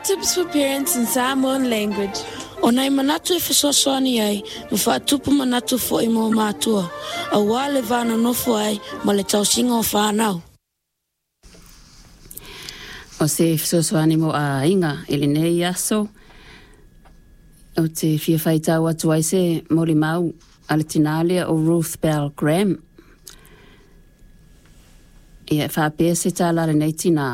Tips for parents in Samoan language. O nai manatu e fesoasoani ai ma faatupu manatu foi mo matua, auā le va nonofo ai ma le tausiga o fanau. O se fesoasoani mo aiga i lenei aso, ou te fia faitau atu ai se molimau a le tinā lea o Ruth Bell Graham. Ia e faapea se tala a lenei tinā,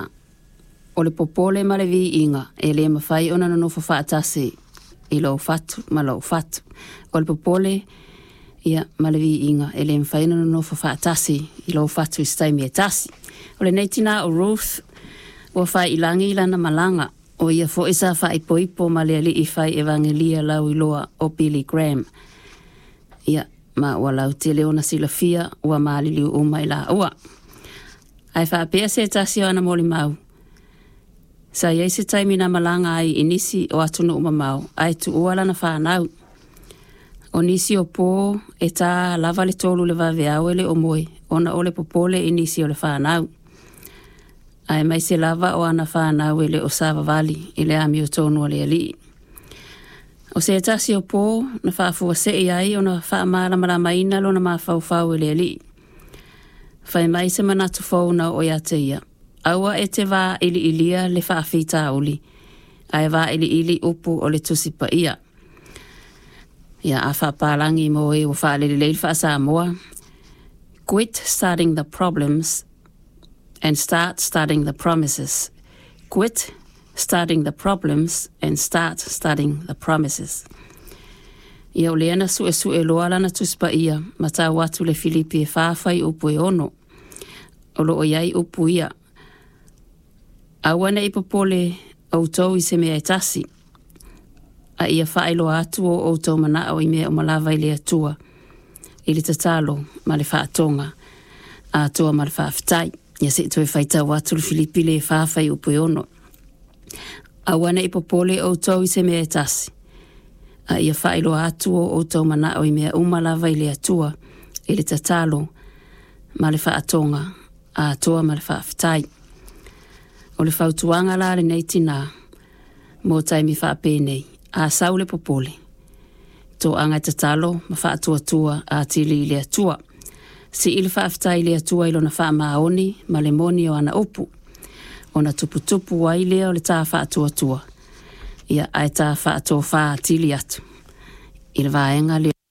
o le popole ma le viiga e le mafai ona nonofo faatasi i lou fatu ma lou fatu. O le popole ia ma le viiga e le mafai ona nonofo faatasi i lou fatu i se taimi e tasi. O lenei tinā o Ruth ua faiilagi i lana malaga, o ia foi sa faaipoipo ma le alii fai evagelia lauiloa o Billy Graham. Ia, ma ua lautele ona silafia ua maliliu uma i laua. Ae faapea se tasi o ana molimau, sa iai se taimi na malaga ai i nisi o atunuu mamao ae tuua lana fanau. O nisi o pō e tā lava le 3 le vaveao e le o moe ona o le popole i nisi o le fanau. Aemaise lava o ana fanau e le o savavali i le amiotonu a le Alii. O se tasi o pō na faafuasei ai ona faamalamalamaina lona mafaufau e le Alii. Fai mai se manatu fou na oo ia te ia. Aua e te vailiilia le faafitauli, ae vailiili upu o le Tusi Paia. Ia a faapalagi mo e ua faalelelei le faa-Samoa. Quit starting the problems and start starting the promises. Quit starting the problems and start starting the promises. Ia o lea na suesue loa lana Tusi Paia ma tau atu le Filipi e 4 fuaiupu e 6. O loo i ai upu ia. Aua nei popole outou i se mea e tasi, a ia faailoa atu o outou manao i mea uma lava i le Atua, i le tatalo ma le faatoga atoa ma le faafetai. Ia se i toe faitau atu le Filipi le 4 fuaiupu e 6. Aua nei popole outou i se mea e tasi, a ia faailoa atu o outou manao i mea uma lava i le Atua, i le tatalo ma le faatoga atoa ma le faafetai. O le fautuaga la lenei tinā mo taimi faapenei, a sau le popole, toaga e tatalo ma faatuatua atili i le Atua. Sii le faafetai i le Atua i lona faamaoni ma le moni o ana upu, ona tuputupu ai lea o le tā faatuatua, ia ae tā faatofā atili atu i le vaega lea.